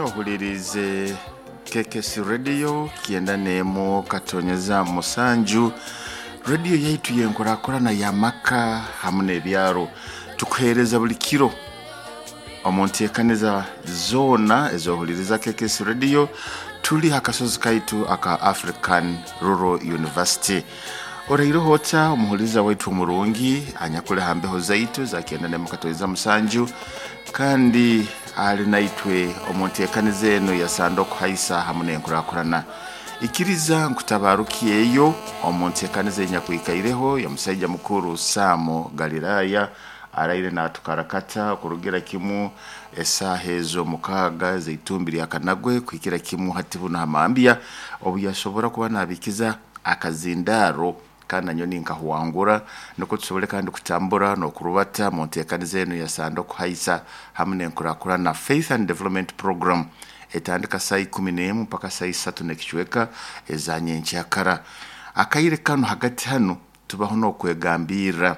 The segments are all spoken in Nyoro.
Ohulirize KKC Radio 91.7, rediyo yaitu yenkurakurana y'amaka hamu n'ebyaro. Tukuheereza buli kiro omu nteekaniza zoona ez'ohuliriza KKC Radio. Tuli ha kasozi kaitu aka African Rural University. Oraireho ota omuhuliriza waitu omurungi anyakuli ha mbeho zaitu za 91.7, kandi ali naitwe omu nteekaniza eno yasanda okuhaisa hamu n'enkurakurana. Ikiriza nkutabarukyeyo omu nteekaniza enyakwikaireho ya musaija mukuru Samu Galilaya, araire natukarakata okurugira kimu esaaha ezo 6 ez'eitumbi lya Kanagwe kuhikira kimu hati buno hamambya, obu yasobora kuba nabikiza akazindaaro kandi nanyowe ninkahwangura, nukwo tusobole kandi kutambura n'okurubata mu nteekaniza enu yasanda okuhaisa hamu n'enkurakurana. Faith and Development Program etandika saa 11 mpaka saa 3 n'ekicweka eza nyenkyakara. Akaire kanu hagati hanu tubaho n'okwegambirra,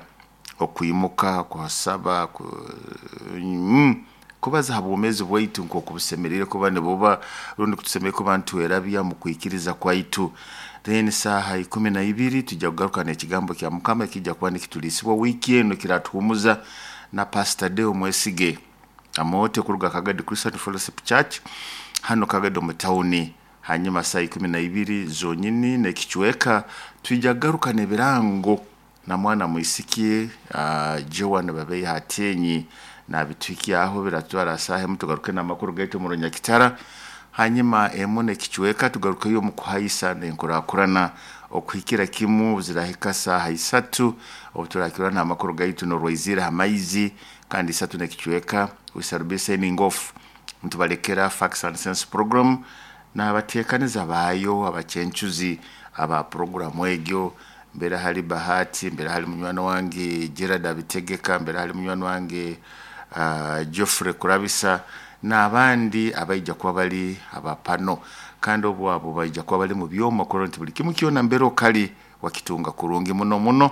okwimuka, kuhasaba, kubaza ha bwomeezi bwaitu nk'oku busemeriire kuba nibuba, rundi kutusemeriire kuba nitwerabya mu kwikiriza kwaitu. Then saaha 12 tujja kugaruka n'ekigambo kya Mukama ekijja kuba nikituliisibwa wiiki enu, ekiratuhumuza na Pastor Deo Mwesige Amote kuruga Kagadi Christian Fellowship Church hano Kagadi omu tawuni. Hanyuma saa 12 zonyini n'ekicweka twija kugaruka n'ebirango na mwana mwisiki Joan Babeiha Atenyi nabituhikyaho, biratwara saaha emu tugaruke n'amakuru gaitu omu Runyakitara. Hanyuma emu n'ekicweka tugarukeyo omu kuhaisa n'enkurakurana okuhikira kimu zirahika saaha 3, obu turakirora n'amakuru gaitu n'orwaizire ha maizi. Kandi 3 n'ekicweka we shall be signing off, nitubalekera Facts and Sense program n'abateekaniza baayo, abacencuzi aba puroguramu egyo. Mbere hali Bahati, mbere hali munywani wange Gerard Abitegeka, mbere hali munywani wange Geoffrey Kurabisa n'abandi abaija kuba bali abapano, kandi obu abo baija kuba bali mu byoma kurora nti buli kimu kyona mbere okali wakitunga kurungi muno muno.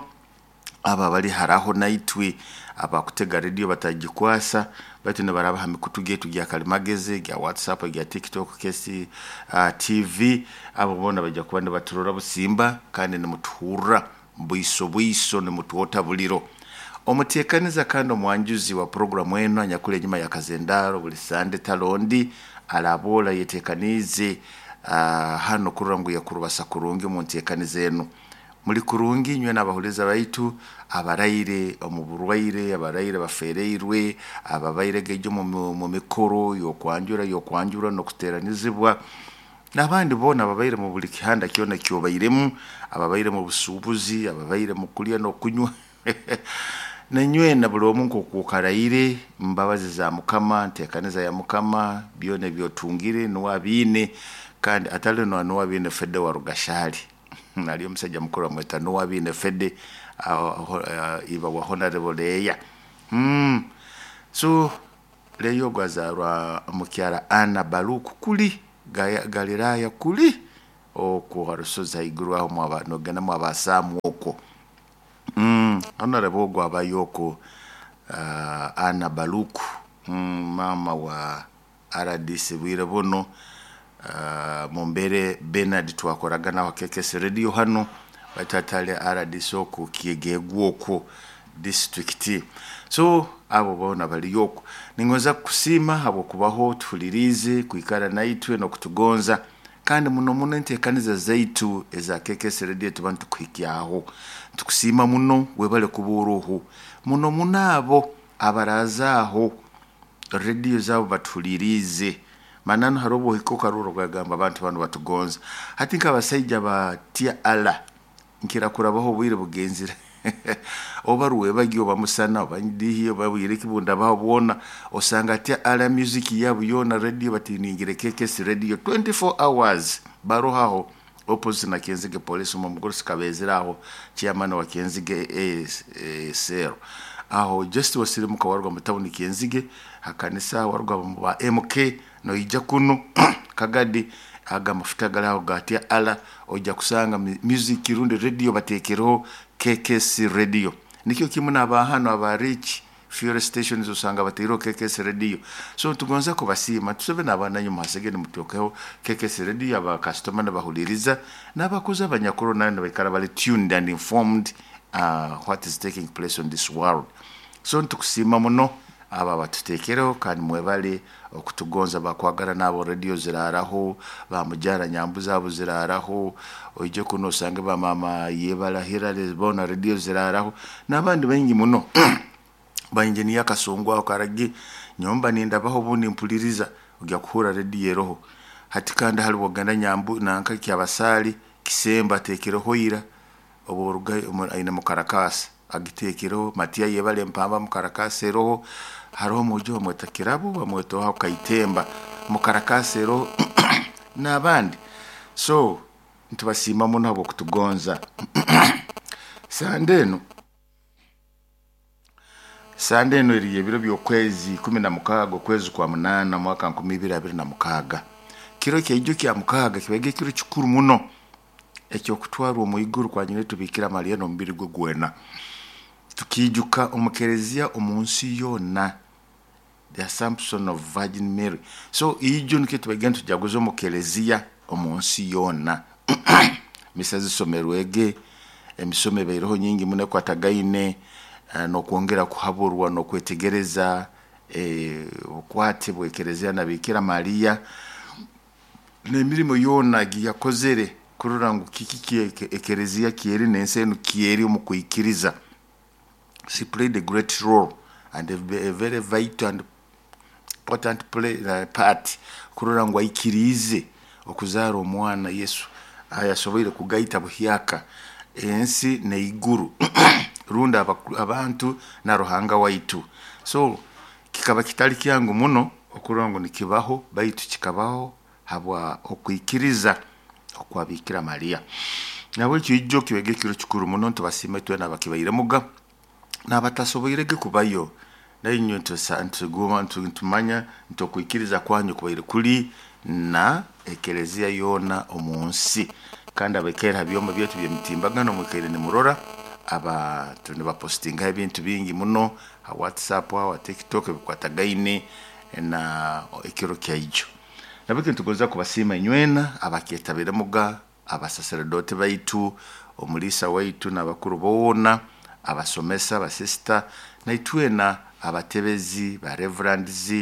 Abo abali haraho naitwe abakutega rediyo batagikwasa, baitu nibaraba ha mikutu gyaitu gya kalimagezi, gya WhatsApp, gya TikTok, KC TV, abo boona baija kuba nibaturora busimba kandi nimutuhurra bwiso bwiso, nimutwota buliro. Omuteekaniza kandi omwanjuzi wa puroguramu enu anyakuli enyuma ya kazendaaro buli Sande talondi arabola yeteekaniize hano kurora ngu yakurubasa kurungi omu nteekaniza enu. Muli kurungi inywe n'abahuliza baitu abaraire omu burwaire, abaraire bafereirwe, ababaire gaijo mu mikoro y'okwanjura y'okwanjurwa n'okuteranizibwa, n'abandi boona ababaire mu buli kihanda kyona ekyobairemu, ababaire mu busuubuzi, ababaire mu kulya n'okunywa nanywena buli omu nk'oku okaraire mbabazi za Mukama, nteekaniza ya Mukama, byona ebyotungire nuwe abiine, kandi atali nuwe abiine Fede wa Rugashali. Ali omusaija mukuru bamweta Nuwe Abiine Fede, iba wa Honorable Leya. So Leya ogu azaarwa mukyara Ana Baruku kuli Galilaya kuli okwo ha rusozi haiguru aho nogenda mwaba Asamu okwo. Honorable ogu abayo okwo, Ana Baruku, maama wa RDC bwire buno. Mumbere Bernard twakoraga nawe KKC Radio hano, baitu atali RDC oku Kyegegwa okwo district. So abo boona baliyo okwo. Ningonza kukusiima habw'okubaho tuhuliriize, kwikara naitwe n'okutugonza, kandi muno muno enteekaniza zaitu eza KKC Radio tuba nitukuhikyaho. Nitukusiima muno, webale kuba oroho. Muno muno abo abarazaaho rediyo zaabo batuhuliriize. Mananu haroho obu ohika okarora okagamba abantu banu batugonza. Hati nk'abasaija ba Tia Allah, nkira kurabaho obwire bugenzire oba rwebagyo oba musana oba ndihi oba bwire ki bundabaho bwona, osanga Tia Allah music yabo yoona rediyo batuningire KKC Radio 24 hours baroho aho opposite na Kenzige Police, omu mugurusi Kabezire aho chairman wa Kenzige cell aho, just wasirimuka waruga mu tawuni Kenzige hakanisa, waruga mu ba MK noija kunu Kagadi, aga amafuta gali aho ga Tia Allah, ojja kusanga music rundi radio bateekereho KKC Radio. Nikyo kimu n'aba hanu aba Rich. Fuel stations osanga bataireho KKS radio. So tugonza kubasiima, tusabe n'abaana nyu muhasege nimuteekaho KKS radio, abakasitoma nibahuliriza n'abakozi abanyakuru nabo nibaikara bali tuned and informed what is taking place on this world. So nitukusiima muno abo abatuteekereho kandi mwebale okutugonza. Bakwagara n'abo radio ziraaraho, bamujara nyambu zaabo ziraaraho, oije kuno osange bamama yebala Hillary boona radio ziraaraho n'abandi baingi muno. Ba engineer Kasongo aho Karagi, nyomba nindabaho obundi mpuliriza ojya kuhurra radio eroho. Hati kandi hali bwogenda Nyambu nanka Kyabasaali, Kisembo ateekereho ira, obu orugayo aine mukarakasi agiteekereho, Matiya yebale Mpamba mukarakasi eroho, haroho omwojo bamweta Kirabo bamweta oha Kaitemba mukarakasi eroho n'abandi. So nitubasiima muno habw'okutugonza. Sande enu eri ebiro by'okwezi 16 okwezi kwa 8 mwaka 2026. Kiro kyaijo kya mukaaga kibaga ekiro kikuru muno eky'okutwarwa omu iguru kwa nyina Bikira Maria n'omubiri gwe gwena. Tukiijuka omu kereziya omu nsi yoona, the Assumption of Virgin Mary. So ijo nikyo tubaga nitujaguza omu kereziya omu nsi yoona. Misa zisomerwege, emisomo ebaireho nyingi muno ekwatagaine n'okwongera kuhaburwa n'okwetegereza obukwate bw'ekereziya na Bikira Maria n'emirimo yoona egiyakozere kurora ngu kiki ekereziya kyeri n'ensi enu kyeri omu kwikiriza. She played a great role and a very vital and important part kurora ngu aikiriize okuzaara omwana Yesu ayasoboire kugaita buhyaka ensi n'eiguru rundi abantu na Ruhanga waitu. So kikaba kitali kyangu muno okurora ngu nikibaho, baitu kikabaho habwa okwikiriza okwa Bikira Maria. Nahabwekyo ijo kibege ekiro kikuru muno, nitubasiima itwena abakibairemuga n'abatasoboirege kubayo, nainywe nitumanya nti okwikiriza kwanyu kubaire kuli na ekereziya yoona omu nsi. Kandi abaikaire ha byoma byaitu by'emitimbagano mwikaire nimurora abantu nibapositingaho ebintu bingi muno ha WhatsApp, ha TikTok ebikwatagaine na ekiro kyaijo. Nahabwekyo nitugonza kubasiima inywena abakyetabiremuga, abasaseredooti baitu, omuliisa waitu n'abakuru boona, abasomesa, abasisita, naitwena abatebezi, ba reverends,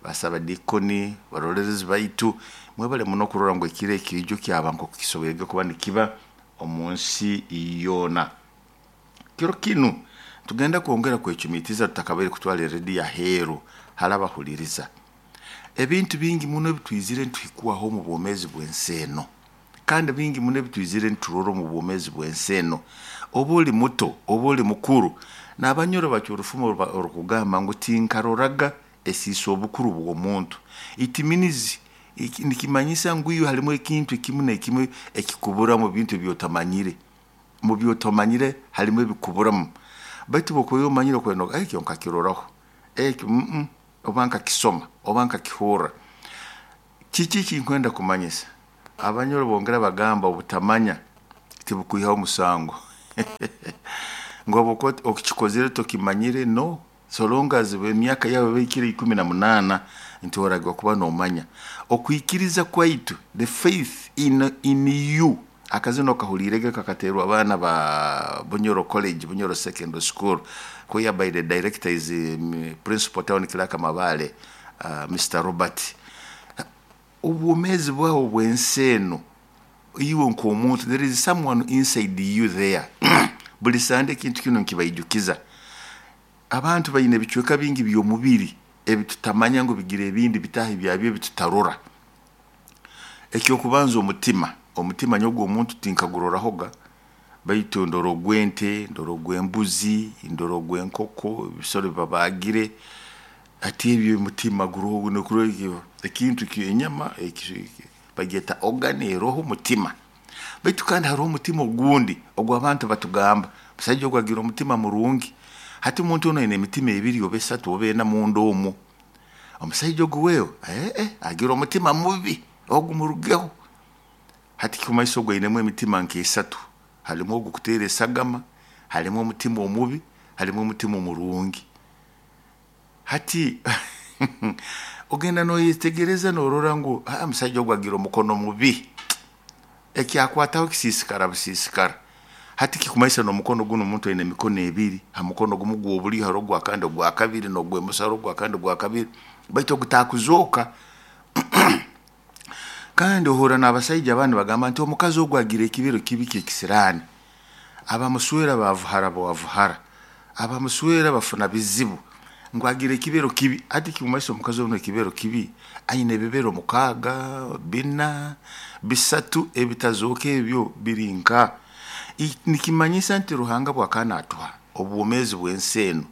basabadiikoni, barolerezi baitu, mwebale muno kurora ngu ekiro eki ijo kyaba nk'oku kisoboire kuba nikiba omu nsi yoona. Kiro kinu tugenda kwongera kwecumiitiriza tutakabaire kutwara erediyo aheeru hali abahuliriza. Ebintu bingi muno ebitwizire nituhikwaho omu bwomeezi bw'ensi eno, kandi bingi muno ebitwizire niturora omu bwomeezi bw'ensi eno. Oba oli muto, oba oli mukuru, n'abanyoro bacwa orufumo orukugamba ngu tinkaroraga esiisa obukuru bw'omuntu. It means nikimanyisa ngu iwe harimu ekintu ekimu n'ekimu ekikubura mu bintu ebi otamanyire. Mu by'otamanyire harimu ebikuburamu. Baitu bw'okuba omanyire okwenda ekyo nkakiroraho, ekyo oba nkakisoma, oba nkakihurra. Kiki ekinkwenda kumanyisa? Abanyoro bongera bagamba obutamanya tibukwihaho omusango. Ngu habwokuba okikozere tokimanyire, no. So long as emyaka yawe ehikire 18 nti oragirwa kuba noomanya. Okwikiriza kwaitu, the faith in you, akazina okahuliirege kakateerwa abaana ba Bunyoro College, Bunyoro Secondary School, whereby the director is Principal Town Clerk Mabale, Mr. Robert. Obwomeezi bwawe obw'ensi eno, iwe nk'omuntu, there is someone inside you there. Buli sande ekintu kinu nkibaijukiza. Abantu baine ebicweka bingi by'omubiri ebitutamanya ngu bigira ebindi bitaahi byabyo ebitutarora. Ekyokubanza omutima, omutima nyowe ogw'omuntu tinkagurorahoga, baitu ndora ogw'ente, ndora ogw'embuzi, ndora ogw'enkoko, ebisoro ebibabaagire, hati ebyo omutima guroho ekintu enyama bagyeta organ eroho omutima. Baitu kandi haroho omutima ogundi ogw'abantu batugamba, omusaija ogu agira omutima murungi. Hati omuntu onu aine emitima ebiri oba esatu oba ena munda omwo. Omusaija ogu wewe agira omutima mubi, ogu murugeho. Hati kimanyisa ogu ainemu emitima nk'esatu, harimu ogukuteera esagama, harimu omutima omubi, harimu omutima omurungi. Hati ogenda noyetegereza norora ngu omusajja ogu agira omukono mubi, ekyakwataho kisiisikara busiisikara. Hati kikumanyisa n'omukono gunu omuntu aine emikono ebiri, ha mukono gumu gw'obulyo haroho ogwakandi ogwakabiri, n'ogw'emoso haroho ogwakandi ogwakabiri, baitu ogutakuzooka. Kandi ohurra n'abasaija abandi nibagamba nti omukazi ogu agira ekibero kibi ky'ekisiraani, abamuswera bavuhara bwavuhara, abamuswera bafuna bizibu, ngu agira ekibero kibi. Hati kikumanyisa omukazi onu ekibero kibi aine ebibero 6, 4, 3 ebitazooka ebyo biri nka. Nikimanyisa nti Ruhanga bwakaba naatuha obwomeezi bw'ensi enu,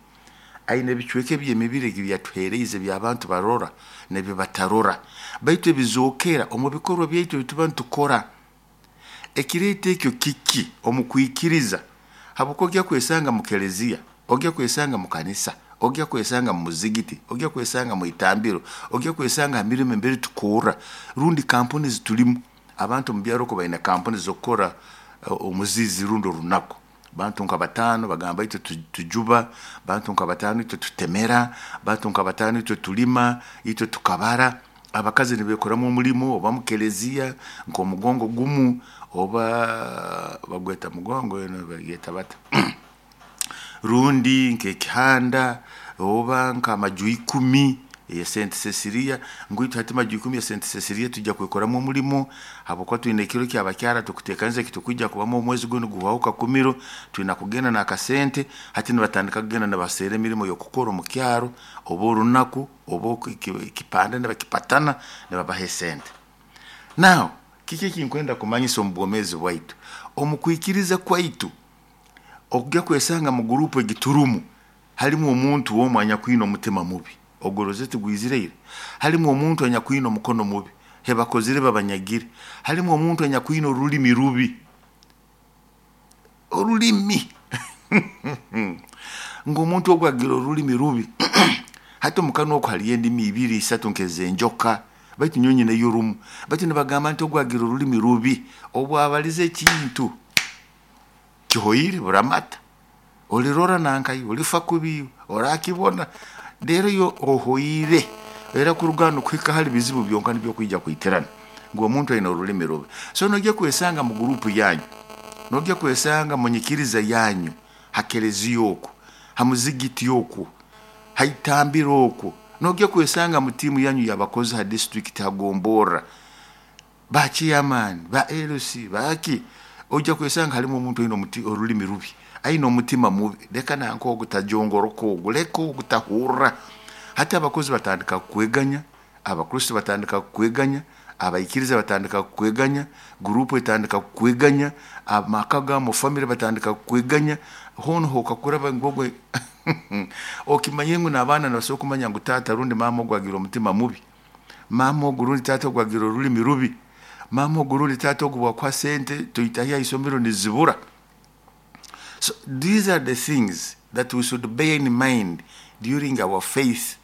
aine ebicweka eby'emibiri ebi yatuheeriize eby'abantu barora n'ebi batarora, baitu ebizookera omu bikorwa byaitu ebi tuba nitukora. Ekireeta ekyo kiki omu kwikiriza? Habwokuba ojya kwesanga mu keleziya, ojya kwesanga mu kanisa, ojya kwesanga mu muzigiti, ojya kwesanga mu itambiro, ojya kwesanga ha mirimo embere tukorra, rundi kampuni zitulimu. Abantu omu byaro oku baine kampuni z'okukora omuzizi rundi orunaku. Bantu nka 5 bagamba itwe tujuba, bantu nka 5 itwe tutemera, bantu nka 5 itwe tulima, itwe tukabara. Abakazi nibeekoramu omulimo oba mu keleziya nk'omugongo gumu oba bagweta mugongo eno bagyeta bata rundi nk'ekihanda oba nk'amaju 10 eya Saint Cecilia, ngu itwe hati maju 10 ya Saint Cecilia tujja kwekoramu omulimo habwokuba twine ekiro ky'abakyara tukuteekaniza ekitukwija kubamu omwezi gunu guhwaho Kakumiro, twina kugenda n'akasente. Hati nibatandika kugenda nibaseera emirimo y'okukora omu kyaro oba orunaku oba ekipande nibakipatana nibabaha esente. Now kiki ekinkwenda kumanyisa omu bwomeezi bwaitu? Omu kwikiriza kwaitu, okujya kwesanga mu guruupu egi turumu, halimu omuntu omu anyakwine omutima mubi, ogwo tigwizire ira. Halimu omuntu anyakwine omukono mubi, hebakozire babanyagire. Halimu omuntu anyakwine orulimi rubi, orulimi ngu omuntu ogu agira orulimi rubi. Hati omu kanwa oku haliyo endimi 2, 3 nk'ez'enjoka, baitu nyowe nyineyo rumu. Baitu nibagamba nti ogu agira orulimi rubi, obu abaliza ekintu kihoire buramata, olirora nankayo, olifa kubi, orakibona, rero iwe ohoire, era kuruga hanu kuhika hali bizibu byonka nibyo kwija kwitirana, ngu omuntu aine orulimi rubi. So nojya kwesanga mu guruupu yanyu, nojya kwesanga mu nyikiriza yanyu, ha keleziya oku, ha muzigiti oku, ha itambiro oku, nojya kwesanga mu tiimu yanyu y'abakozi ha disitulikiti, ha gomborra, ba chairman, ba LC, baki, ojja kwesanga halimu omuntu aine orulimi rubi, aine omutima mubi, leka nanka ogu tajongoroka ogu, leka ogu tahurra. Hati abakozi batandika kukweganya, Abakristo batandika kukweganya, abaikiriza batandika kukweganya, guruupu etandika kukweganya, amaka ga mu famire batandika kukweganya, hoona hokakuraba ngu ogwe okimanye ngu n'abaana nibasobora kumanya ngu taata rundi maama ogu agira omutima mubi, maama ogu rundi taata ogu agira orulimi rubi, maama ogu rundi taata ogu bwakuha sente toitayo ha isomero nizibura. So these are the things that we should bear in mind during our faith.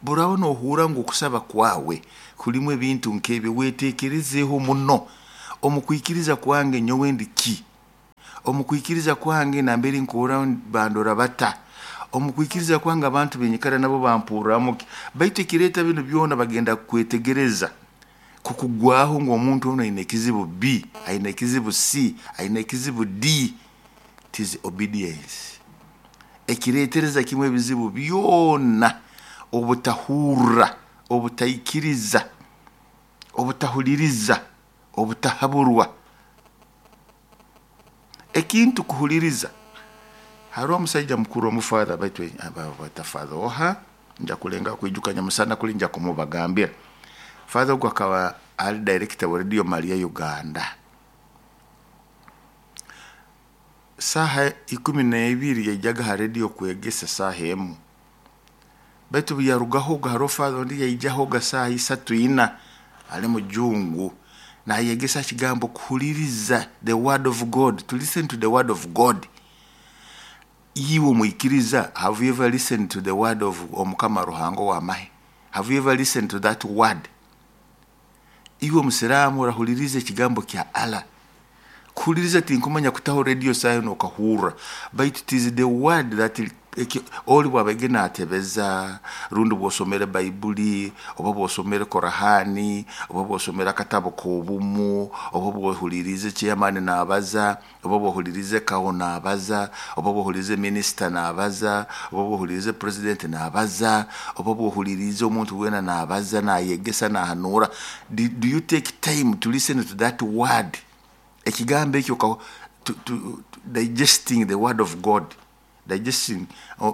Buraaba nohurra ngu okusaba kwawe kulimu ebintu nk'ebyo, weteekerezeeho muno. Omu kwikiriza kwange nyowe ndi ki? Omu kwikiriza kwange nambere nkorra bandora bata? Omu kwikiriza kwange abantu benyikara nabo bampurramu ki? Baitu ekireeta binu byona bagenda kukwetegereza, kukugwaho ngu omuntu onu aine ekizibu B, aine ekizibu C, aine ekizibu D. It is obedience. Ekireetereza kimu ebizibu byona, obutahurra, obutaikiriza, obutahuliriza, obutahaburwa. Ekintu kuhuliriza, haroho omusaija mukuru omufather baitu bata father oha, nja kulengaho kwijuka nyamusana kuli nja kumubagambira. Father ogu akaba ali director wa Radio Maria Uganda. Saaha 12 yaijaga ha radio kwegesa saaha 1. Baitu obu yarugahoga haroho father ondi yaijahoga saaha 3, 4 ali mujungu nayegesa ekigambo kuhuliriza the word of God, to listen to the word of God. Iwe omwikiriza, have you ever listened to the word of Omukama Ruhanga ow'amahe? Have you ever listened to that word? Iwe omusiraamu orahuliriza ekigambo kya Allah? Kuhuliriza tinkumanya kutaho radio saaha enu okahurra, baitu it is the word that Oli bwabege natebeza, rundi bwosomere Baibuli, oba bwosomere Korahani, oba bwosomere akatabo k'obumu, oba bwohulirize chairman nabaza, oba bwohulirize kawo nabaza, oba bwohulirize minister nabaza, oba bwohulirize president nabaza, oba bwohulirize omuntu wena nabaza, nayegesa, nahanura. Do you take time to listen to that word? Ekigambo ekyo, digesting the word of God. Digesting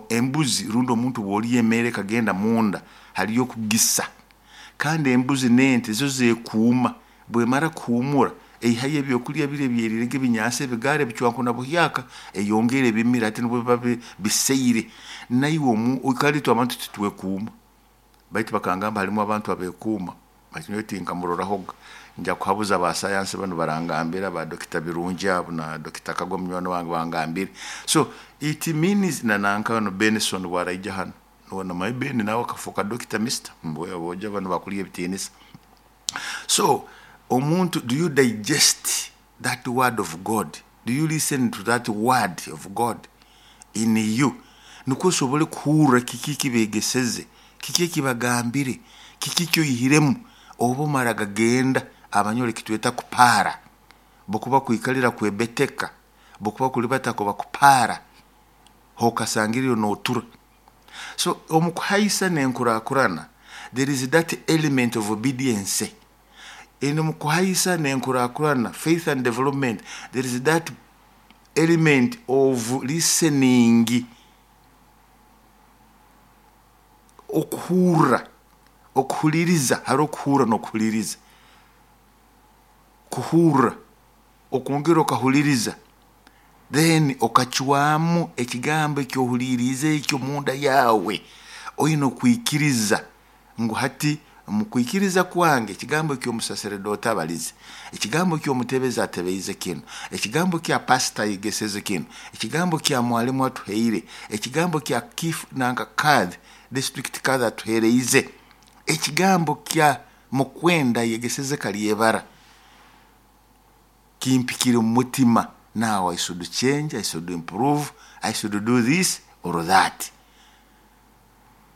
embuzi rundi omuntu bw'olya emere kagenda munda haliyo kugisa, kandi embuzi n'ente zo zekuuma, bwemara kuhumura eihayo ebyokulya biri ebyerire ebinyansi ebigara ebicwanku na buhyaka, eyongera ebimira ati nibwo biba biseire. Naiwe kale itwe abantu titwekuuma, baitu bakangamba halimu abantu abekuuma, baitu nyowe tinkamurorahoga. Nja kuhabuza ba sayansi banu barangambira, ba Dokita Birungi abo na Dokita Kagwa munywani wange bangambire. So it means na nankano Benson bwaraija hano, nona my Ben nawe akafuuka Dokita Mister mbwe boja bano bakulya ebitiinisa. So omuntu, do you digest that word of God? Do you listen to that word of God in you? Nukwo osobole kuhurra kiki kibegeseze, kiki ekibagambire, kiki kyoyihiremu, oba omara gagenda abanyole kitweta kupara, bokuba kwikalira kwebeteka, bokuba kulibata kuba kupara, hokasangiriyo notura. So omukuhaisa nenkurakurana, there is that element of obedience. Eno mukuhaisa nenkurakurana, faith and development, there is that element of listening, okuhurra, okuhuliriza, hariho okuhurra n'okuhuliriza. Kuhurra, okwongera okahuliriza, then okacwamu ekigambo ekyohuliriize ekyo munda yawe, oine okwikiriza ngu hati mukwikiriza kwange ekigambo ky'omusaseredoti abalize, ekigambo ky'omutebezi atebeize kinu, ekigambo kya pasita ayegeseze kinu, ekigambo kya mwalimu atuheire, ekigambo kya kif nanka kadhi district kadhi atuhereize, ekigambo kya mukwenda yegeseze kalyebara, kimpikire mu mutima. Now I should change, I should improve, I should do this or that.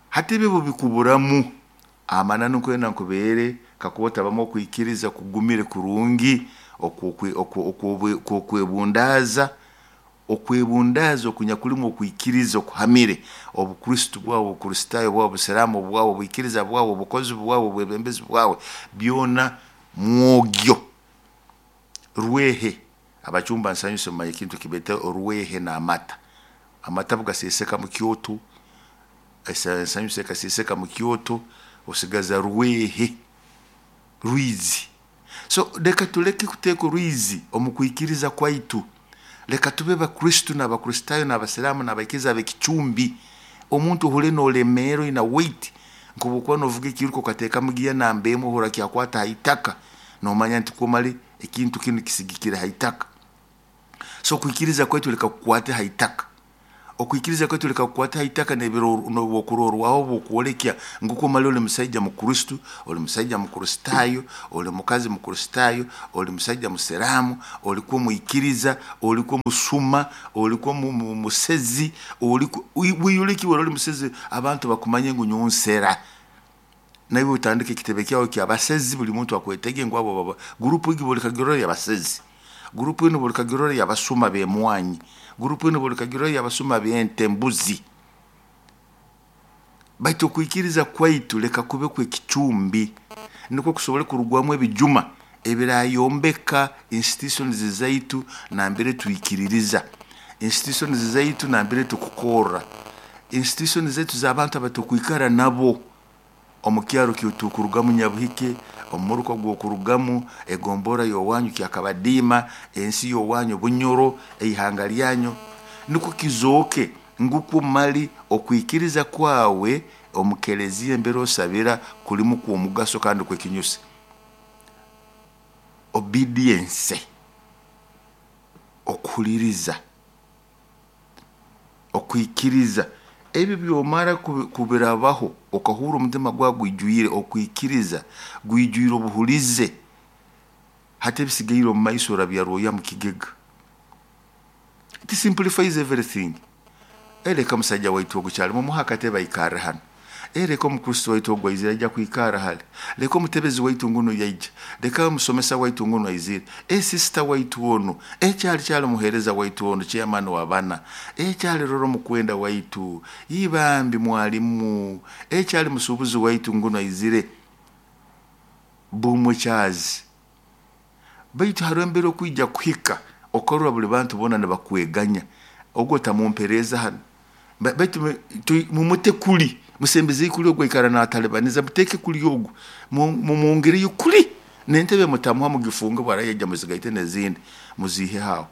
Hati ebyo bikuburamu amananu nkwenda nkubeere kakuba otabamu okwikiriza kugumire kurungi, okwebundaaza, okwebundaaza okunyakulimu okwikiriza okuhamire, obukristo bwawe, obukristaayo bwawe, obusiraamu bwawe, obwikiriza bwawe, obukozi bwawe, obwebembezi bwawe, byona mwogyo rwehe. Abachumba nsanyuse mumanye ekintu kibete orwehe n'amata. Amata bugaseseka mu kyoto, ensanyuse ekaseseka mu kyoto, osigaza rwehe, rwizi. So leka tuleke kuteeka orwizi omu kwikiriza kwaitu. Leka tube bakristo n'abakristaayo n'abasiraamu n'abaikiriza ab'ekicumbi. Omuntu ohure n'olemeera oina weight, nk'obwokuba novuga ekiruka okateekamu giya namba emwe ohurra kyakwata ha itaka, nomanya nti kumali ekintu kinu kisigikire ha itaka. So okwikiriza kwaitu leka kukwate ha itaka. Okwikiriza kwaitu leka kukwate ha itaka n'obwokurorwaho bwokwolekya ngu kumali oli musaija mukristo, oli musaija mukristaayo, oli mukazi mukristaayo, oli musaija musiraamu, olikuwa mwikiriza, olikuwa musuma, olikuwa musezi, weyoleke oli musezi, abantu bakumanye ngu nyowe nsera. Naiwe otandike ekitebe kyawe kyabasezi, buli muntu akwetege ngu abo baba gurupu egi buli kagirora yabasezi, gurupu eno buli kagirora yabasuma b'emwanyi, gurupu eno buli kagirora yabasuma b'ente mbuzi. Baitu okwikiriza kwaitu leka kube kw'ekicumbi, nukwo kusobole kurugwamu ebijuma ebirayombeka institutions zaitu nambere twikiririza, institutions zaitu nambere tukukorra, institutions zaitu z'abantu abatukwikara nabo omu kyaro kyotukurugamu Nyabuhike, omuruka gwokurugamu, egombora y'owanyu Kyakabadiima, ensi y'owanyu Bunyoro, eihanga lyanyu, nukwo kizooke ngukwo mali okwikiriza kwawe omu keleziya embere osabira kulimu kw'omugaso kandi kwekinyusi. Obedience, okuhuliriza, okwikiriza, ebyo byomara kubirabaho okahurra omutima gwawe gwijwire okwikiriza, gwijwire obuhulize, hati ebisigaire omu maiso orabyarwoya mu kigega. It simplifies everything. Leka musaija waitu ogu kyali mumuhe akatebe aikarre hanu. Leka omukristo waitu ogu aizire aija kwikara hali. Leka omutebezi waitu ngunu yaija. Leka omusomesa waitu ngunu aizire. Sisita waitu onu. Kyali kyali muheereza waitu onu, chairman wa bana. Kyali rora omukwenda waitu. Ibambi mwalimu. Kyali musuubuzi waitu ngunu aizire. Bumukyazi. Baitu hariho embera okwija kuhika okarora buli bantu boona nibakweganya. Ogu otamumpereeza hanu. Baitu mumute kuli, musembeze kuli ogu aikara natalibaniza, muteeke kuli ogu, mumwongereyo kuli, n'entebe mutamuha mugifunge bwarayaija muzigaite n'ezindi muziiheho aho.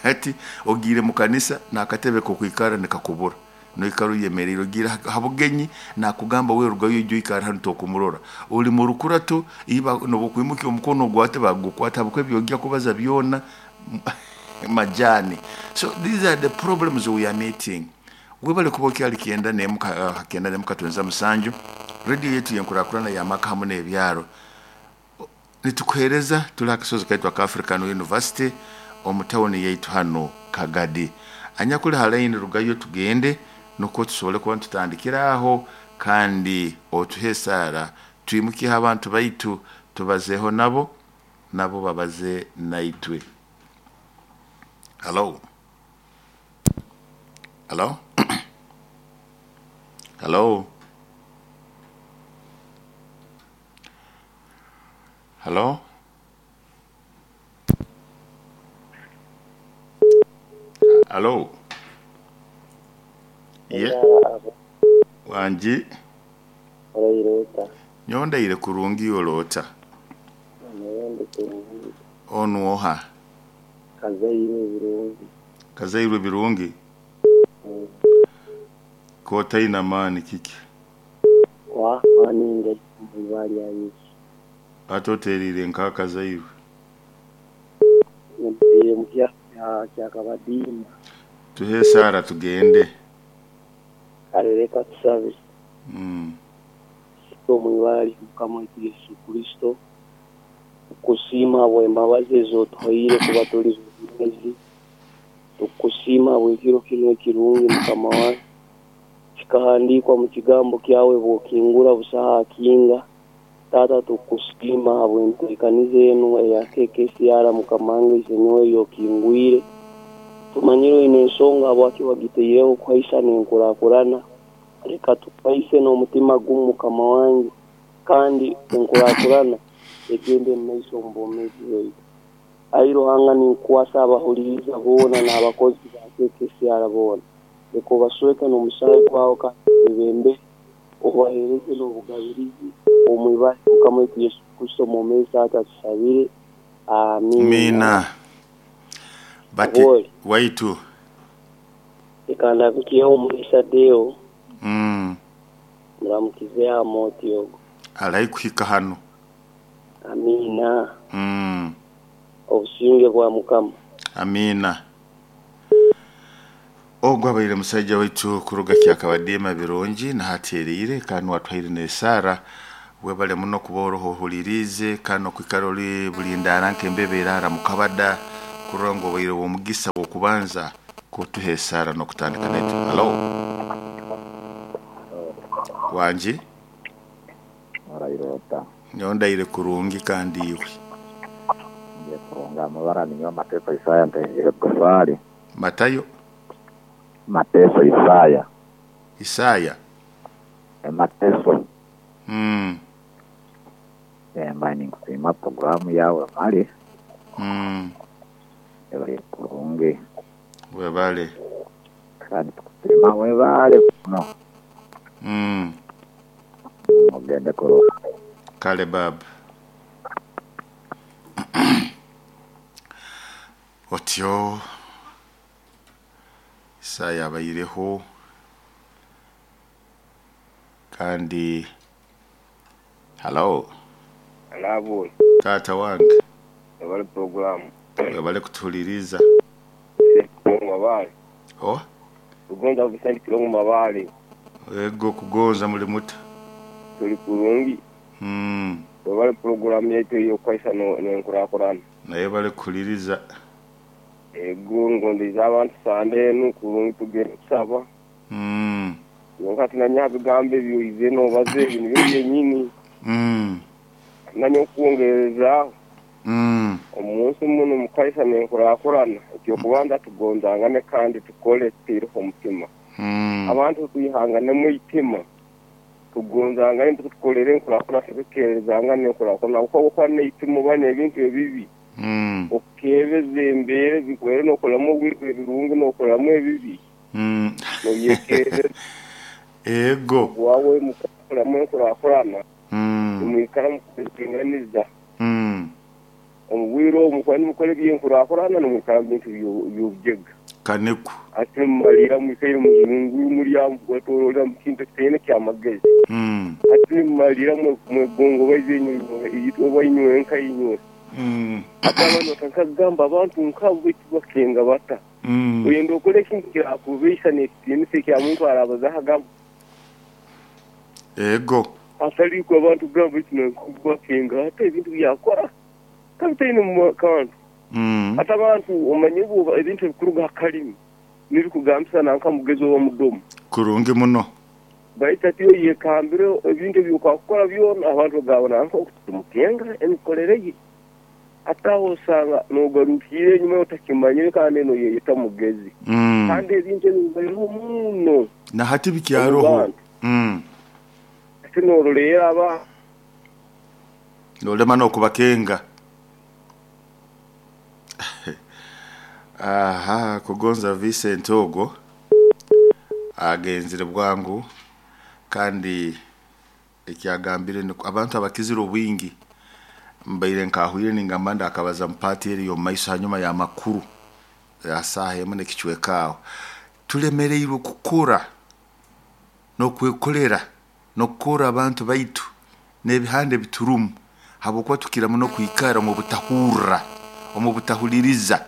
Hati ogiire mu kanisa n'akatebe k'okwikara nikakubura, noikara oyemeriire, ogiire ha bugenyi nakugamba wewe rugayo oije oikarre hanu tokumurora. Oli mu rukurato iba nobu okwimukya omukono ogwate bagukwata habwokuba ebi ojya kubaza byona majani. So these are the problems we are meeting. Webale kuba okyali 91 9 7 radio yetu yenkurakurana y'amaka hamu n'ebyaro. Nitukuheereza tuli ha kasozi kaitu aka African University omu tawuni yaitu hanu Kagadi. Anyakuli ha line rugayo tugende nukwo tusobole kuba nitutandikira aho kandi otuhe esaara twimukyeho abantu baitu tubazeeho nabo, nabo babaze naitwe. Hello. Hello. Hello. Hello. Hello. Ye. Wangi. Orairota. Nyondaire kurungi oloota. Naye kurungi. Onu oha? Kazaire birungi. Kazairwe birungi. Kotaina maani kiki? Wa maani mu lya Yesu. Ate oteriire nka Kazairwe. Ntiire mu kyakabadiima. Tuhe esaara tugende. Kale leka tusabe. Omu ibara lya Mukama waitu Yesu Kristo, tukusiima habw'embabazi ez'otuhaire kuba tuli bomeezi. Tukusiima habw'ekiro kinu ekirungi Mukama wange. Kikahandiikwa mu kigambo kyawe bw'okingura busaho akinga. Taata tukusiima habw'enteekaniza enu eya KKCR Mukama wange isenyowe ey'okingwire. Tumanyire oine ensonga habwaki wagitaireho kuhaisa n'enkurakurana. Leka tuhaise n'omutima gumu Mukama wange, kandi enkurakurana egende mu maiso omu bwomeezi bwaitu. Ai Ruhanga ninkukwasa abahuliriza boona n'abakozi ba KKCR boona. Leka obasweke n'omusaayi gwawe kandi obebembere, obaheereze n'obugabirizi omu ibara lya Mukama waitu Yesu Kristo omwomeezi Taata tusabire. Amiina. Mina. Bati Obwoli. waitu. Leka ndabikyeho omulisa Deo. Muramukize Amoti ogu. Alai kuhika hanu. Amiina. Obusinge bwa Mukama. Amiina. Ogwo abaire musaija waitu kuruga kyakabadiima birungi nahateriire kandi watwaire n'esaara webale muno kuba oroho ohuliriize kandi okwikara ori bulindaara nk'embebe eraara mukabada kurora ngu obaire w'omugisa w'okubanza kutuha esaara n'okutandika naitwe. Hello. Wangi. Orairota. Nyondaire kurungi kandi iwe. Ngiye kurunga amabara ninyowe Mateso Isaya ntengire Gosali. Matayo. Mateso Isaya. Isaya. Mateso. Mbaye ninkusiima programu yawe mali. Ebali kurungi. Webale. Kandi tukusiima webale muno. Ogende kurungi. Kale baba. Otyo Isaya abaireho kandi hello. Alabo. Tata wange. Webale programu. Webale kutuhuliriza. Mabale. Oh? Kugonza busali kilongo mabale. Ego kugonza muli muta. Tuli kurungi. Webale programu yetu ey'okwaisa n'enkurakurana. Naye bale kuhuliriza. Ego ngondeize abantu sande enu kurungi tugende kusaba. Kyonka tinamanya bigambo ebyoize nobaza ebi nibyo byenyini. Tinamanya okwongerezaaho. Omunsi munu mukaisa nenkurakurana, ekyokubanza tugonzangane kandi tukole tutaireho omutima. Abantu twihanganemu eitima, tugonzangane tukolere enkurakurana tutekerezangane enkurakurana habwokuba bwokuba neitima oba nebintu ebibi, okebeza embeera ezikubaire nokolamu ebirungi nokolamu ebibi, noyekereza. Ego. Wawe mukakolamu enkurakurana, nimwikara mukuringaniza. Omu bwire obu mukuba nimukora eby'enkurakurana nimwikara mu bintu by'obujega. Kaniku. Ati nimumaliira mwikaire muzunguru muri aho mukwetoroolera mu kintu ekitaine ky'amagezi. Ati nimumaliira mwegongobaize inywe oba inywenka inywe. Ati abandi batandika kugamba abantu nk'abo baitu bakenga bata? Oyenda okole ekintu kirakubaisa n'ekitiinisa ekya muntu araabazaho agamba. Ego. Hatali ikwe abantu kugamba baitu nanka bakenga ata ebintu byakora kabitaine kantu. Hati abantu omanye bwoba ebintu ebikuruga ha kalimi nibikugambisa nanka mugezi oba mudomu. Kurungi muno. Baitu hati oyekambire ebintu ebyokwakukora byona abantu bagamba nanka ogu titumukenga emikorere ye. Hati aho osanga nogarukiire enyuma otakimanyire kandi noyeyeta mugezi. Kandi ebintu ebyo bibaireho muno Na hati omu bikyaroho. bantu. Hati noroleera aba. Nolema n'okubakenga. Aha, Kugonza Vincent ogwo agenzire bwangu kandi ekyagambire nikwo abantu abakizire obwingi mbaire nkahwire ningamba ndakabaza mu paati eri ey'omu maiso hanyuma y'amakuru ya saaha emu n'ekicweka aho. Tulemereirwe kukora n'okwekolera n'okukorra abantu baitu n'ebihanda ebiturumu habwokuba tukira muno kwikara omu butahurra, omu butahuliriza.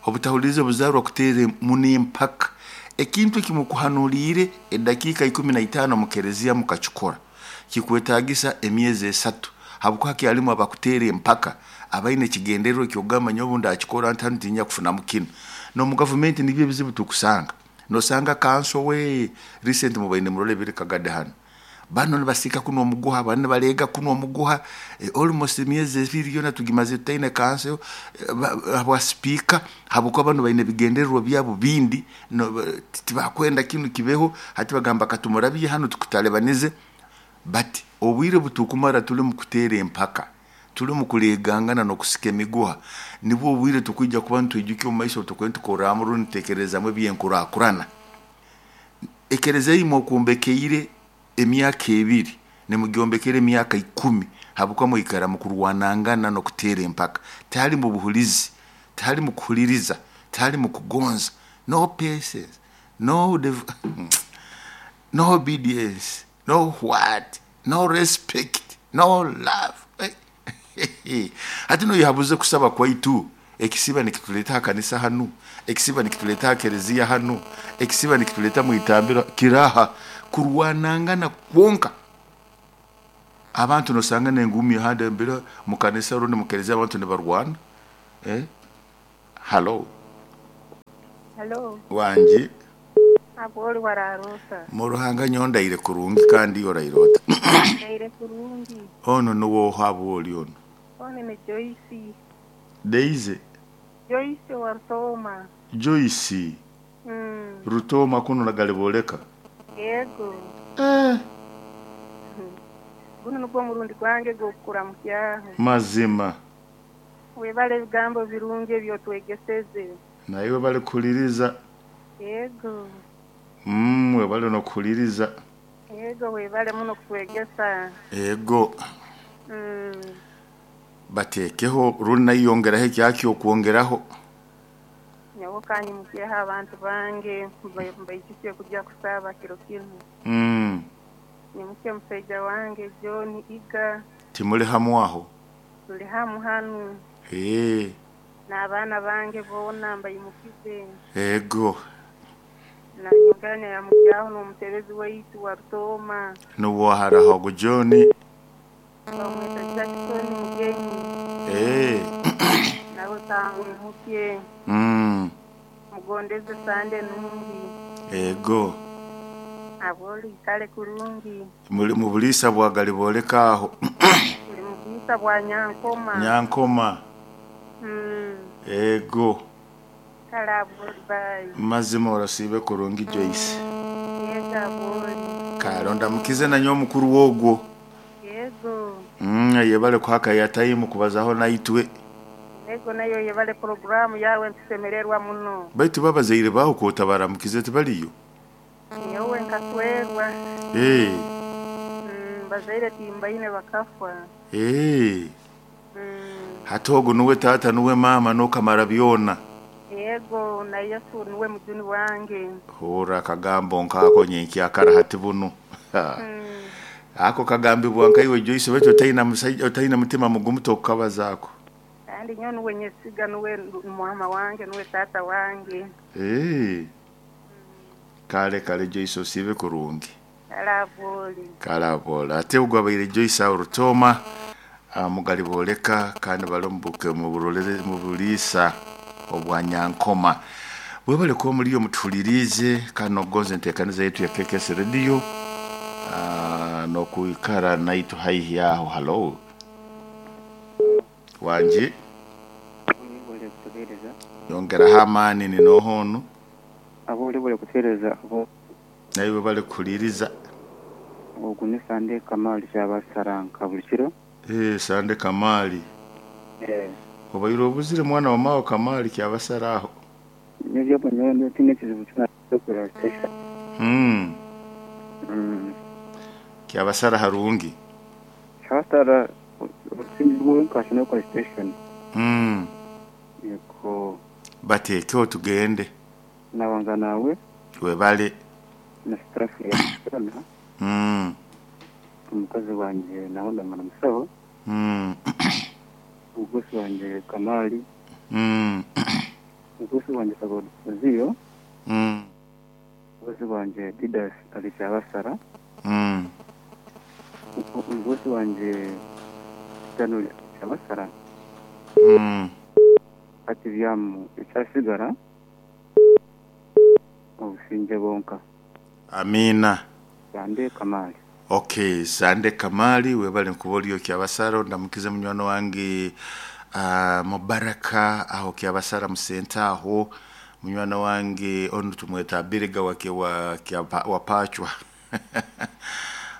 Obutahuliriza obuzaarwa kuteera muno empaka. Ekintu eki mukuhanuliire edakiika 15 omu kereziya mukakikora, kikwetaagisa emyezi 3 habwokuba hakyalimu abakuteera empaka abaine ekigendererwa eky'okugamba nyowe obu ndakikora nti hanu tinyija kufunamu kinu. N'omu gavumenti nibyo ebizibu tukusanga. Nosanga kanso we recent mubaire nimurora ebiri Kagadi hanu. Banu nibasiika kunu omuguha, banu nibaleega kunu omuguha, almost emyezi ebiri yoona tugimazire tutaine kanso habwa sipiika habwokuba banu baine ebigendererwa byabo bindi tibakwenda kinu kibeho, hati bagamba katumurabye hanu tukutalibanize. But obwire obutukumara tuli mu kuteera empaka, tuli mu kuleegangana n'okusika emiguha, nibwo obwire tukwija kuba nitwijukya omu maiso obu tukorramu rundi nituteekerezamu eby'enkurakurana. Ekereziya ei mwokwombekeire emyaka 2, nimugyombekera emyaka 10 habwokuba mwikara mu kurwanangana n'okuteera empaka. Tihalimu buhulizi, tihalimu kuhuliriza, tihalimu kugonza, no patience, no no obedience, no what, no respect, no love. Hati noyehabuza okusaba kwaitu, ekisiba nikituleeta ha kanisa hanu, ekisiba nikituleeta ha kereziya hanu, ekisiba nikituleeta mu itambiro kiraha kurwanangana kwonka. Abantu nosanga n'enguumi ahandi embere mu kanisa rundi mu kereziya abantu nibarwana. Halo. Halo. Wangi. Habwe oli wararoota? Mu Ruhanga nyowe ndaire kurungi kandi iwe oraire ota? Ndaire kurungi. Onu nuwe oha habwe oli onu? Onu ni Joyce. Daisy? Joyce owa Rutooma. Joyce? Rutooma kunu Nagalibooleka? Yego. Gunu nugwo omurundi gwange gw'okukuramukyaho. Mazima. Webale ebigambo birungi eby'otwegeseze. Naiwe bali kuhuliriza. Yego. Webale n'okuhuliriza. Yego, webale muno kutwegesa. Ego. Bateekeho rundi naiyongeraho ekyakyo okwongeraho. Nyowe kanyimukyeho abantu bange mbaijukye kujya kusaba kiro kinu. Nyimukye musaija wange John Iga. Timuli hamu aho? Tuli hamu hanu. N'abaana bange boona mbaimukize. Ego. Nanyongera nayamukyaho n'omutebezi waitu wa Rutooma. Nuwe haraho ogu John? Bamweta Jackson Mugenyi. Nawe kamwimukye. Nkugondeze sande nungi. Ego. Abwoli ikale kurungi. Muli mu buliisa bwa Galibooleka agho. Tuli mu buliisa bwa Nyankoma. Nyankoma. Ego. Kale abwoli baayi. Mazima orasiibe kurungi Joyce. Yego abwoli. Kale ondamukize na nyowe mukuru wo ogwo. Yego. Ayebale kuha ya time kubazaho naitwe. Yego nayo oyebale puroguramu yawe nitusemererwa muno. Baitu bo abazaire baho k'otabaramukize tibaliyo? Nyowe nkaswerwa. Ee. Bazaire timbaine bakafwa. Ee. Hati ogu nuwe taata nuwe maama n'okamara byona. Yego, na Yesu nuwe mujuni wange. Hurra akagambo nk'ako nyenkyakara hati bunu. Ako kagambibwa nka iwe Joyce baitu otaina musaija otaina mutima mugumu tokukabazaako. Kandi nyowe nuwe nyesiga nuwe muhama wange nuwe taata wange. Eeh. Kale kale Joyce osiibe kurungi. Kale aboole. Kale aboole. Ate ogu abaire Joyce aho Rutooma Mugali booleka kandi bali omu buliisa obwa Nyankoma. Mwebale kuba muliyo mutuhuliriize kandi n'okugonza enteekaniza yaitu ya KKS Radio n'okwikara naitwe haihi aho. Halo. Wangi. Webale kutuheereza. Yongeraho amaani ni nooha onu? Abo webale kutuheereza abo. Naiwe webale kuhuliiriza. Ogu ni Sande Kamali Kyabasara nka buli kiro. Eeh Sande Kamali. Eh. Obaire obuzire mwana wa maawe Kamali Kyabasara aho. Nyowe nyowe tihaine ekizibu kyona ky'okurora station. Kyabasara harungi. Kyabasara obusinge bwonka nka station. Yego. Bateekeho tugende. Nabanza nawe. Webale. Na staff yoona. Omukazi wangye nawe ndamara musaho. Omugusi wangye Kamali. Omugusi wangye Sagoziyo. Omugusi wangye Didas ali Kyabasara. Omugusi wangye Stanley Kyabasara. Hati byamu ekyasigara obusingye bwonka. Amiina. Sande Kamali. Okay, Sande Kamali webale nkuba oriyo Kyabasara ondamukize munywani wange Mubaraka aho Kyabasara Musenta aho munywani wange onu tumweta Abiriga wa Pachwa.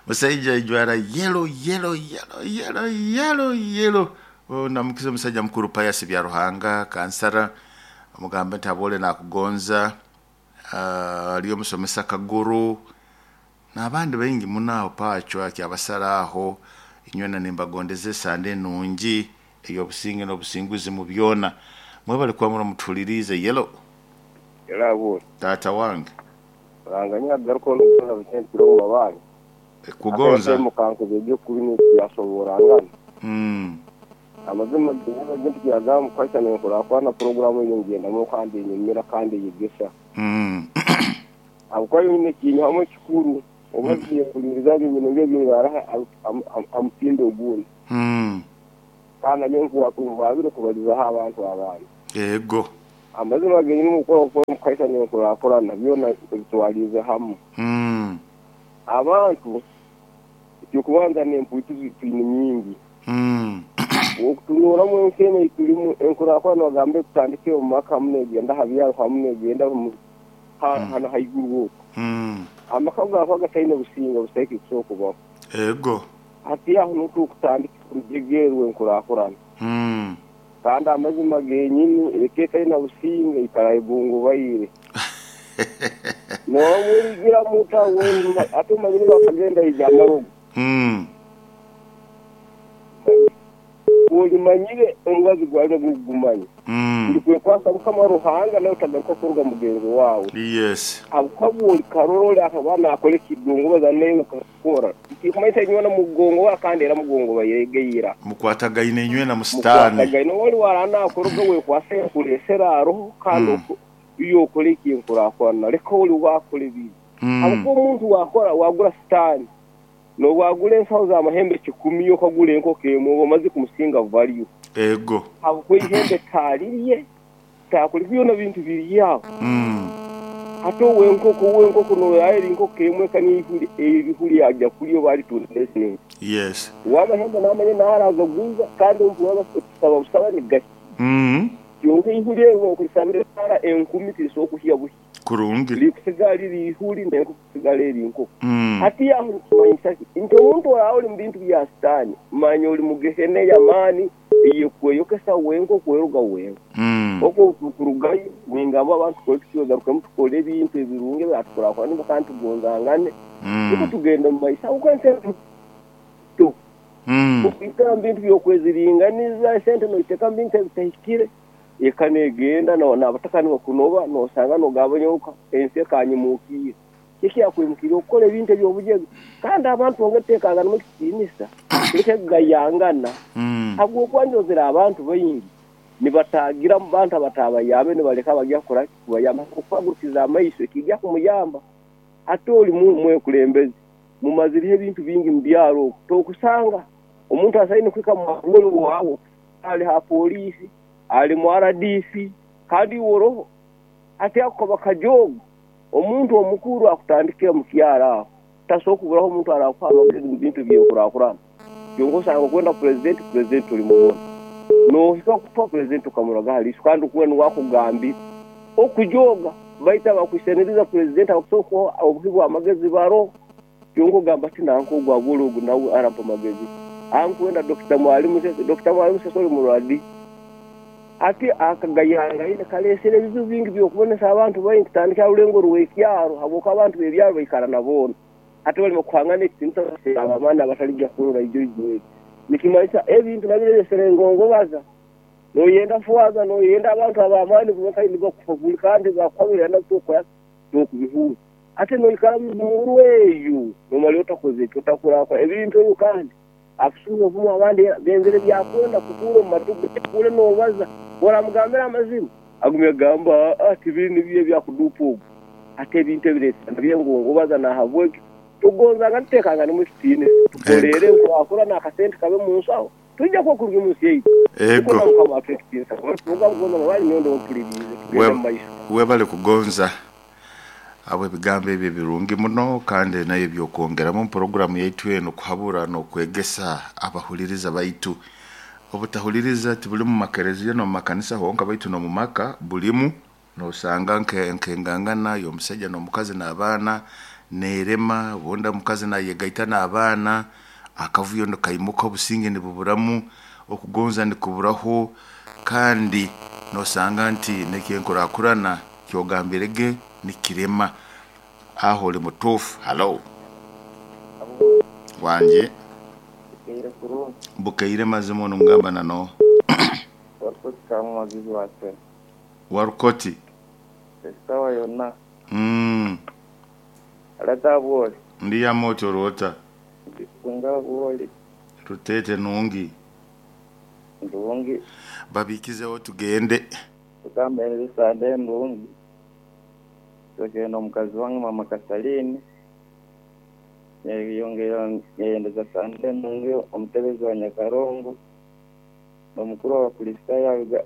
Musaija ajwara yellow yellow yellow yellow yellow yellow. Ondamukize omusaija mukuru Pius Byaruhanga kansara omugambe nti abole nakugonza ariyo omusomesa Kaguru n'abandi baingi muno aho Pachwa Kyabasara aho inywena nimbagondeza esande enungi ey'obusinge n'obusinguzi mu byona. Mwebale kuba muno mutuhuliriize. Yellow. Yellow abole. Taata wange. Ruhanga niyagarukaho n'okukoza bukye ntwire omu mabaare. Kugonza. Akatemo kankuba eby'okubi n'ekiyasoborangana. Amazima gentu kyagamba mukwata nenkurakurana puroguramu eyo ngendamu kandi enyumira kandi eyegesa. Habwokuba nyine ekinyihamu ekikuru oba nyehuliiriza ebintu ebingaraha amutindo ogundi. Kandi nanyowe nkuwaabire kubalizaho abantu abandi. Ego. Amazima genyini mukora mukaisa nenkurakurana byona ebitwaliize hamu. Abantu ekyokubanza n'emputu twine nyingi. Okutunuuramu ensi enu ei turimu enkurakurana bagambe tutandike omu maka hamu negenda aha byaro hamu negenda hanu haiguru oku. Amaka gakuba gataine businge busaiki kusobora kubaho. Ego. Hati aho nuho turikutandika orujegerwe enkurakurana. Kandi amazima genyini eka etaine businge ikara egungubaire. Noomwigiramu ota ate omanyire bakagenda haija amarogo. Olimanyire omubazi gwalyo gugumanya. Ndikwekwasa Mukama Ruhanga nawe otagaruka kuruga mugenzi waawe. Yes. Habwokuba olikarora akaba naakora ekidongobaza naiwe okakikora. Tikumanyisa inywena mugongoba kandi era mugongobaire egeira. Mukwatagaine inywena musitaani. Mukwatagaine oli wara naakoroga wekwasa enkuresera aroho kandi iyo okora ekinkurakurana leka oli waakora ebibi. Habwokuba omuntu wakora wagura sitaani n'obwagura ensaho z'amahembe 10 iwe okagura enkoko emwe oba omaze kumusinga value. Ego. Habwokuba eihembe taarirye. Okutakole byona bintu biri aho. Hati owenkoko owenkoko noyayira enkoko emwe eka neihuri ebihuri agya kulya oba alitunda nesente. Yes. Owamahembe namanya naragaguza kandi omubuhoro otusaba busaba nigahya. Kyonka eihuri eryo okurisabira esaara enkumi tirisobola kuhya buhya. Kurungi. Rikusigara riri ihuri n'enkoko kusigara eri nkoko. Hati aho nikimanyisa ki? Nti omuntu oraabe ori mu bintu bya Sitaani, manya ori mu gehena ey'amaani ey'ekweyokesa wenka okweroga wenka. Okwo obu turukurugayo, ningamba abantu tukole tuti, twegarukemu tukole ebintu ebirungi ebiratukurakuraniza kandi tugonzangane, nukwo tugende mu maiso. Habwokuba ensi enu nto. Okwikara mu bintu by'okweziringaniza, esente noiteeka mu bintu ebitahikire, eka negenda n'abataka nibakunoba, nosanga nogamba nyowe ensi ekanyimukiire. Kiki ekyakwimukiire okukora ebintu eby'obujega? Kandi abantu twongere tuteekanganemu ekitiinisa, tuleke kugayangana, habwokuba njozere abantu baingi nibataagira mu bantu abataabayambe nibaleka abagya kukora ki? Kubayamba. Habwokuba agurukize amaiso ekiija kumuyamba. Hati oli mwekulembezi, mumazireho ebintu bingi mu byaro oku, tokusanga omuntu asaine kuhika mu waawe ali ha poliisi, ali mu RDC, kandi iwe oroho. Hati ako kaba kajoogo. Omuntu omukuru akutandikira mu kyaro aho, tasobora kuburaho omuntu arakuha amagezi mu bintu eby'enkurakurana. Kyonka osanga okwenda purezidenti, purezidenti tolimubona. Nohika kufa purezidenti okamuraga ha liiso kandi okuba nuwe akugambire. Okujooga, baitu abakwisaniriza purezidenti abakusobora kukuha obuhi bw'amagezi baroho. Kyonka ogamba ati nanka ogu abwoli ogu nawe arampa amagezi. Ankwenda Dokita Mwalimu Sese, Dokita Mwalimu Sese oli murwadi. Hati akagayangaine kaleesere ebizibu bingi by'okubonesa abantu baingi kutandikira ha rulengo rw'ekyaro habwokuba abantu b'ebyaro baikara na boona. Hati balema kuhangana ekitiinisa baseera ab'amaani abataligya kurora ijo ijo eri. Nikimanyisa ebintu nabyo bireesere engongobaza. Noyenda faaza, noyenda abantu ab'amaani bonka nibakuhabura kandi bakuhabura nabyo tokukora ki? Tokubihurra. Hati noikara omu eyo nomara otakoze ki? Otakurakura ebintu ebyo kandi Akusuuba obumu abandi benzire byakwenda kukuura omu matu ge, akuure noobaza. Ku oramugambira amazima, agumya agamba, Aa, tibiri nibyo ebyakuduupa ogu. Hati ebintu ebireetera nabyo engongobaza nahabwekyo tugonzangane tuteekanganemu ekitiinisa, tukoreere enkurakurana akasente kabe mu nsaho, twija kuba kurungi omu nsi yaitu. Nukwo na Ego. Mukama atuhe ekitiinisa. Kuba kugonza mabali nyowe ndoho mpuliriize. Tugende mu maiso. Webale kugonza. Habw'ebigambo ebyo ebirungi muno kandi nayo eby'okwongeramu omu puroguramu yaitu enu kuhabura n'okwegesa abahuliriza baitu. Obutahuliriza tibuli mu makereziya n'omu makanisa honka baitu n'omu maka bulimu. Nosanga nk'engangana y'omusaija n'omukazi n'abaana neerema, obundi omukazi nayegaita n'abaana, akavuyo nikaimuka obusinge nibuburamu, okugonza nikuburaho kandi nosanga nti n'eky'enkurakurana kyogambire ge nikirema. Aho oli mutuufu. Halo. Wangi. Bukeire kurungi. Bukeire mazima onu ngamba na noha? Warukoti Kamumagizi wa Sena. Warukoti. Esawa yona. Alata bwoli. Ndi yama otyo orwota. Ndikunga bwoli. Rutete nungi. Ndungi. Babikizeho tugende. Tukambe Sande ndungi. Tugenda omukazi wange mama Kasalini. Yeyongera yeyendeza Sande nungi omutebezi wa Nyakarongo. Nomukuru w'Abakristaayo.